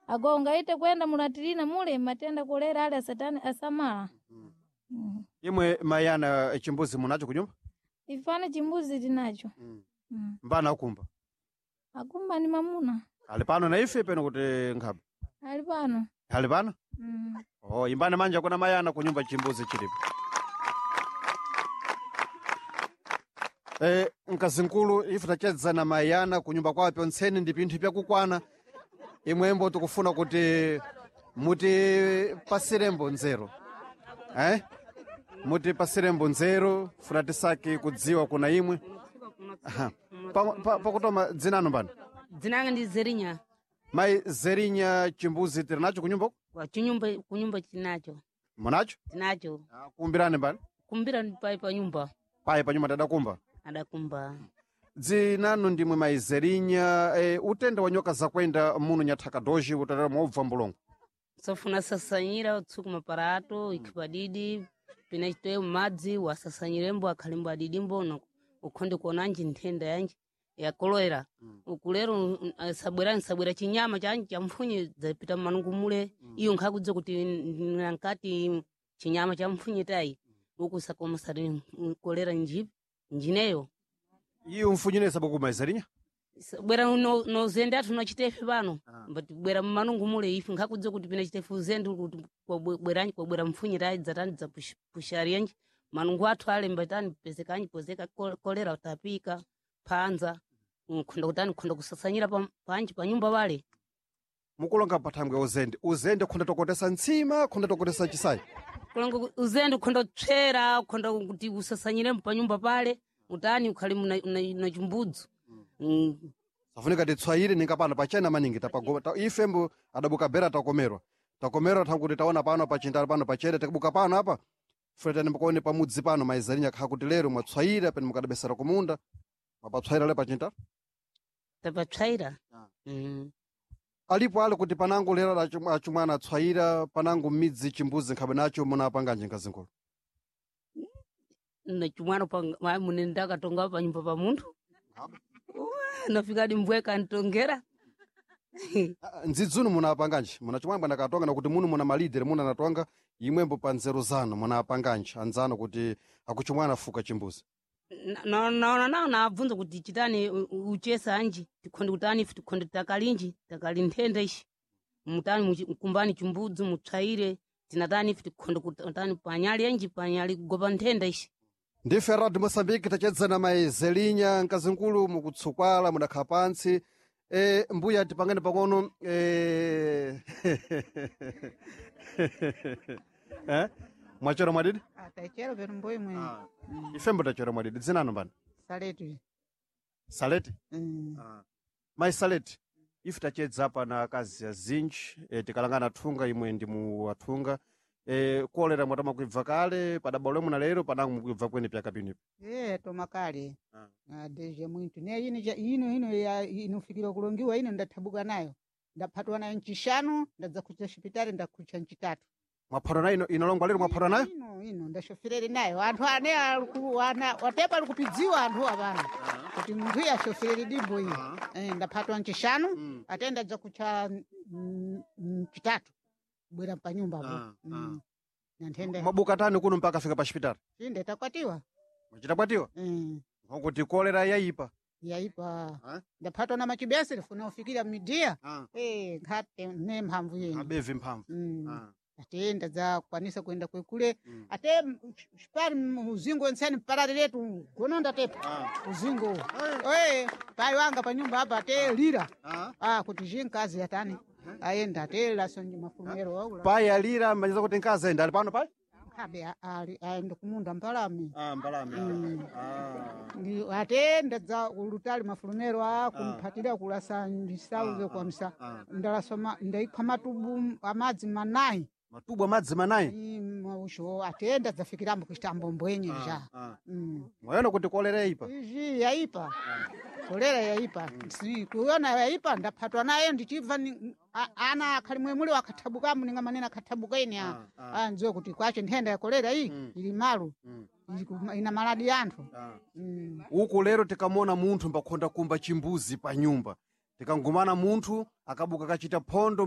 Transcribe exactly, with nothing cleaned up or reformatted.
Ago ungaite kwenda mulatirina mule matenda kolera ale asatani asamala. Mm. Imwe mayana chimbuzi munacho kunyumba? Ifana chimbuzi tinacho. Mm. Mm. Mbana akumba. Akumba ni mamuna. Ali pano na ife peno kuti nkhabe. Ali pano. Ali pano? Mm. Oh, imbani manja kuna mayana kunyumba chimbuzi chilipo. Eh, mkazinkulu ife tachedza na mayana kunyumba kwawo pyontseni ndi pinthu pyakukwana. Imwembo tikufuna kuti mutipasirembo nzeru. Eh? Mutipasirembo nzeru, funa tisaki kudziwa kuna imwe. Aha. Pa- pa- Pakutoma dzinano mbani? Dzinanga ndi Zerinya. Mai Zerinya chimbuzi tiri nacho kunyumba uku? Kwa chinyumba kunyumba tinacho. Munacho? Tinacho. Ah, Kumbirani mbani? Kumbira ndi pai pa nyumba. Paye panyumba tadakumba. Adakumba. Dzinanu ndimwe maizerinya e, utenda wa nyoka zakwenda muno nyathaka doji utalera mobva mbulongo. Sofuna sasanyira utsuku maparato ikhipadidi pina chitoye madzi wasasanyirembo akhalimbo adidimbo no ukhonde kuonanji nthenda yanji ya kolera. Ukulero mm, sabwera nsabwera chinyama chanji cha mfunye dzapita mmanungu mule iyo nkhakudza kuti nankati chinyama cha mfunye tayi uku sakomasari kolera nji njineyo. Iyo mfunyine sabuku maizerinya? Bwera no, no zende athu nochitefe pano but bwera mmanungu mule ife nkhakudza kuti pina chitefe uzende kuti kwabweranji kwabwera mfunye tayi dzatani dzapushariyanji manungu athu alemba tani pezekanji pozeka kol- kolera utapika phanza nkhonda kutani khonda kusasanyira pa- panji pa nyumba pale. Mukulonga pathangwe uzende. Uzende khonda tokotesa ntsima, khonda tokotesa chisayi. Kulonga ku- uzende ukhonda kutswera ukhonda kuti usasanyire pa nyumba pale utani ukhali muna una- una chimbudzu. Mm. Safunika titswayire ninga pano pachena maningi tapagoma. Ta, ifembo adabuka bera takomerwa. Takomerwa thankuti taona pano pachintalo pano pachere tikabuka pano apa. Fuletani mukaone pamudzi pano maizerinya khakuti lero mwatswayira pene mukadabesera kumunda. Mwapatswayira le pachintalo. Tapatswaira. Ah. Mm. Alipo ali kuti panango lero achum- achumwana atswayira panango midzi chimbuzi nkhabe nacho munapanga njinga zinkulu. Na chimwana pa mune ndakatonga pa nyumba pa munthu. Nafikadi mbweka ntongera. Ah, ndzidzunu munapanganji munachimwamba ndakatonga nakuti muno muna malidere muna anatonga imwembo pa nzeru zanu munapanganji anzanu kuti akuchimwana afuka chimbuzi. Naona nawo nabvunza kuti chitani u- u- uchesa anji tikhonde kutani ife tikhonde takalinji takali nthenda ishi mutani muchi- kumbani chimbudzi mutswaire tinatani ife tikhonde kutani panyali anji panyali kugopa nthenda ishi. Ndife Radio Mosambiki tachedzana maizelinya mkazinkulu mukutsukwala mudakhala pantsi. E, mbuya tipangane pang'ono e... eh? Mwachera mwadidi? Atachero pano mboyi mwe. Ifembo tachera mwadidi dzinano mbani? Saletu. Saleti? Mm. Mai Saleti, ife tachedza apa na akazi azinji e, tikalangana thunga imwe ndi mu athunga e, kolera mwatama kuibva kale padabwa lomwe na lero panango mukuibva kwene pyaka pinipo. Eh tomakale. Ah. Ah deje muntu ne ino ja ino ino ya inofikira kulongiwa ino ndathabuka nayo. Ndaphatwa nayo nchishanu ndadza kucha shipitali ndakucha nchitatu. Mwaphatwa nayo ino inalongwa lero mwaphatwa nayo? Ino ino ndashofirere nayo anthu ane aliku ana watepa alikupidziwa anthu apano. Kuti munthu iye ashofirere dimbo iyi. Eh ndaphatwa nchishanu Mm. ate ndadza kucha mm, nchitatu. Bwera pa nyumba apo. Ah, Mm. Na nthenda. Mwabuka tani kuno mpaka afika pa chipitali? Inde takwatiwa. Mwachitakwatiwa? Mm. Nkokuti kolera yayipa. Yaipa. Ah. Ndaphatwa na machibese ndifuna ufikira midia. Ah. Eh nkhate ne mphamvu yenu. Abevi mphamvu. Mm. Ah. Ate ndadzakwanisa kuenda kwekule. Mm. Ate pari uzingo nseni parari letu gono ndatepa Ah. uzingo. Eh pai wanga pa nyumba apa ate lira. Ah. Ah kuti jinkazi yatani. Aenda ate laso mafumero aula. Pai alira manyeza kuti nkazi ayenda ali pano pai? Kabe ali aenda kumunda mbalame. Ah, mbalame. Mm. Ah. Ndi ate ndadza ulutali mafulumero a kumphatira kulasa ndisauze kwa msa. Ah. Ndalasoma ndaikha matubu amadzi manayi. Matubu amadzi manayi. Mausho ate ndadzafikirambo kuchita mbombwenye ja. Ah. Mm. Mwayona kuti kolera yayipa. Izvi yaipa. Kolera yaipa. Si kuona yaipa ndaphatwa nayo ndichibva ni- a- ana akhali mwemuli wakathabukamu ninga manene akhathabuka ine a. Ah, Ah ndziwe kuti kwache nthenda ya kolera iyi Mm. ili malu. Mm. Ili kuma- ina maladi anthu. Ah. Mm. Uku lero tikamona munthu mbakhonda kumba chimbuzi pa nyumba. Tikangumana munthu akabuka kachita phondo.